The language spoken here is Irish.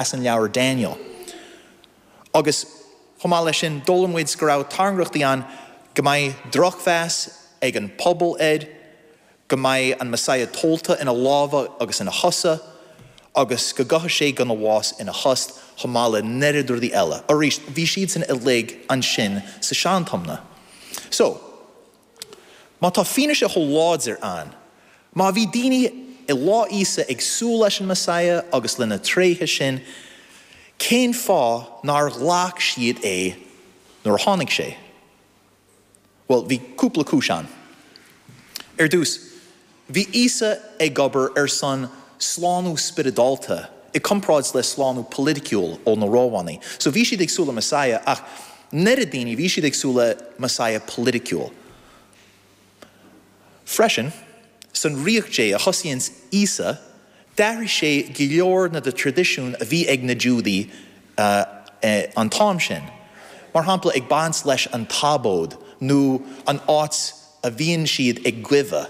As an leabhar Daniel. Agus chomh maith leis sin, d'fhoghlaim muid go raibh tairngreachtaí ann go mbeidh drochmheas ag an pobal air, go mbeidh an Messiah tollta ina lámha agus ina chosa, agus go gcaithfidh sé gona bhás ina thost, chomh maith le neart rudaí eile. Arís, bhí siadsan uilig ansin sa Sean-Tiomna. So. Má tá fianaise chomh láidir ann, má bhí daoine i lá Íosa ag súil leis an Messiah agus le na tréithe sin, cén fáth nár ghlac siad é nuair a tháinig sé? Bhuel, bhí cúpla cúis ann. Ar dtús, Bhí Íosa ag obair ar son slánú spioradálta i comparáid le slánú politiciúil ó na Rómhánaigh. So bhí siad ag súil le Messiah ach an oiread daoine bhí siad ag súil le Messiah politiciúil. Freisin, san Ríocht Dé a thosaíonns Íosa, d'athraigh sé go leor na de traidisiúin a bhí ag na Giúdaigh an t-am sin. Mar shampla ag baint leis an tSabóid nó an áit a bhíonn siad ag goimhe.